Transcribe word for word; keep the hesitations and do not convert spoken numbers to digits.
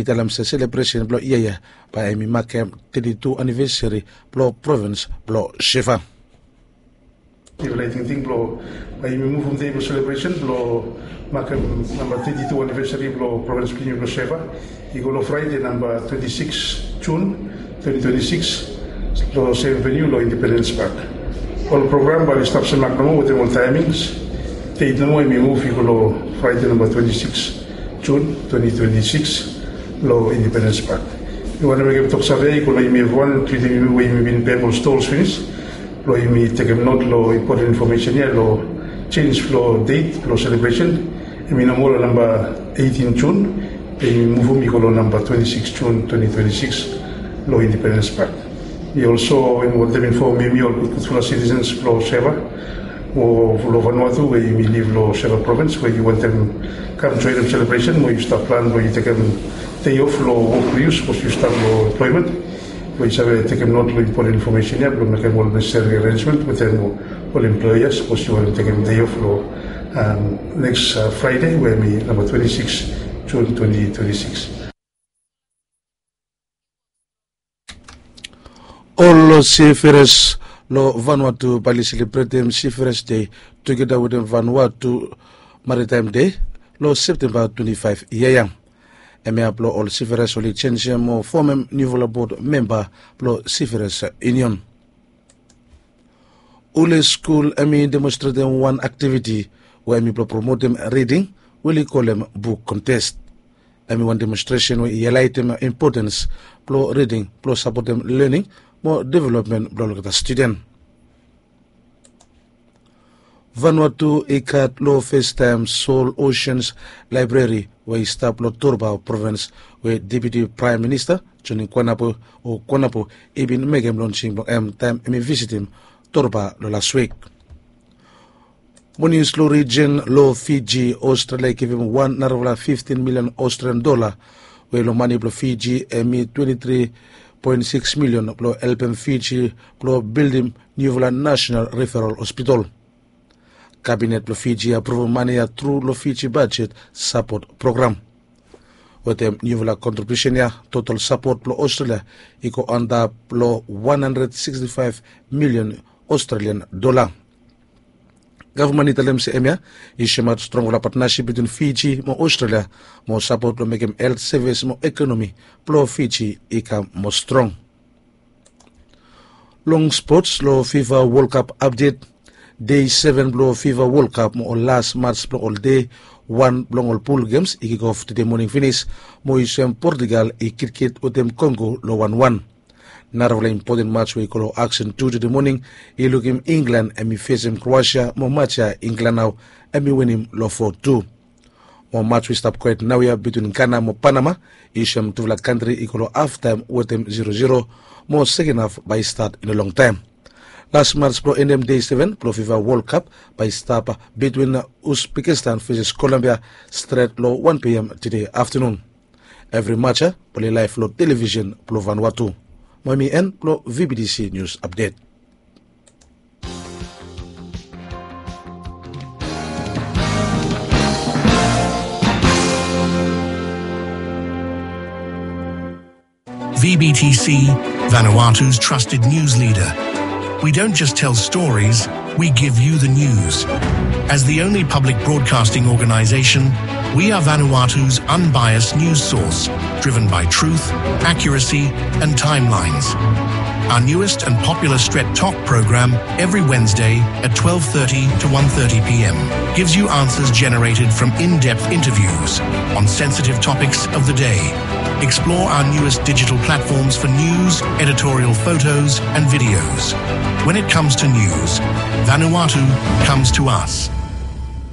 talem se selebresen blong yia ya bae hemi makem teti tu anivesari blong provins blong Seva. Yufala i tingting blong bae yumi muvum dei blong selebresen blong makem namba teti tu anivesari blong provins blong yumi blong Seva i go long Fraide namba twenti sikis Jun twenti twenti sikis long sem veniu long Independens Pak. Ol program bae oli stap semak nomo wetem ol taemings. Deit nomo hemi muv i go long Fraide namba twenti sikis Jun twenti twenti sikis long Independens Pak. Mi wantem mekem toksave i go long yumi evriwan, treatem yumi we yumi bin bek ol stols finis blong yumi tekem not long impoten infomesen ya long jenis blong deit blong selebresen. Hemi no moa long namba eitin Jun, be yumi muvum i go long namba twenti sikis Jun twenti twenti sikis long Independens Pak. Mi olso yumi wantem infomem yumi ol gudgudfala sitisens blong Seva mo long Vanuatu we yumi liv long Seva provins we yu wantem kam joenem selebresen mo yu stap plan blong yu tekem dei of long wok blong yu sapos yu stap long emploemen. Blong yu save tekem not long impoten infomesen ya blong mekem ol nesesari arensmen wetem ol emploea sapos yu wantem tekem dei of long neks Fraide we hemi namba twenti sikis Jun twenti twenti sikis. Ol sifiras long Vanuatu bae oli selebretem Sifiras Dei tugeta wetem Vanuatu Maritaem Dei long Septemba twenti faef yia ya. Hemia blong ol sifiras oli jenjem mo fomem niufala bod memba blong Sifiras Yunion. Ule skul hemi demonstretem wan aktiviti we hemi blong promotem riding we oli kolem buk kontes. Hemi wan demonstresen we i haelaetem impotens blong riding blong sapotem lening mo developmen blong olgeta studen. Vanuatu i gat long festaem Seoul Oceans Laebreri we i stap long Torba provins we Deputi Praem Minista Joni Kuanapo o Kuanapo i bin mekem lonsing blong hem taem hemi visitim Torba long las wik. Monis long rijen long Fiji, Australia i givim wan narafala fiftin milion Australian dola we long mane blong Fiji hemi twenti tri poen sikis milion blong helpem Fiji blong bildim niufala nasenal riferal hospital. Kabinet blong Fiji i apruvum mane ya tru long Fiji bajet sapot program. Wetem niufala kontribiusen ya total sapot blong Australia i go antap long wan handred siksti faef milion Australian dola. Gavman i talem se hemia i soemaot strongfala patnasip bitwin Fiji mo Australia mo sapot blong mekem helt sevis mo ekonomi blong Fiji i kam moa strong. Long spots long Fifa Wol Kap apdet, dei seven blong Fifa Wol Kap mo ol las mats blong ol dei wan blong ol pul gems i kikof tede moning finis mo i soem Portugal i kitkit wetem Kongo long wan wan. Narafala impoten mats we i go long aksen tu tede moning i lukim Inglan hemi fesem Kroasia mo mats ya Inglan nao hemi winim long fo tu. Mo mats we i stap gohed naoia bitwin Gana mo Panama i soem tufala kantri i go long haftaem wetem zero zero mo seken haf bae i stat i no longtaem. Las mats blong endem dei seven blong Fifa Wol Kap bae i stap bitwin Uzbekistan veses Kolombia stret long wan pm tede aftanun. Evri mats ya bae oli laef long televisen blong Vanuatu. Mo hemi en blong V B T C Nius Apdet. V B T C, Vanuatu's trusted news leader. We don't just tell stories, we give you the news. As the only public broadcasting organization, we are Vanuatu's unbiased news source, driven by truth, accuracy, and timelines. Our newest and popular Stret Tok program every Wednesday at twelve thirty to one thirty p m gives you answers generated from in-depth interviews on sensitive topics of the day. Explore our newest digital platforms for news, editorial photos, and videos. When it comes to news, Vanuatu comes to us.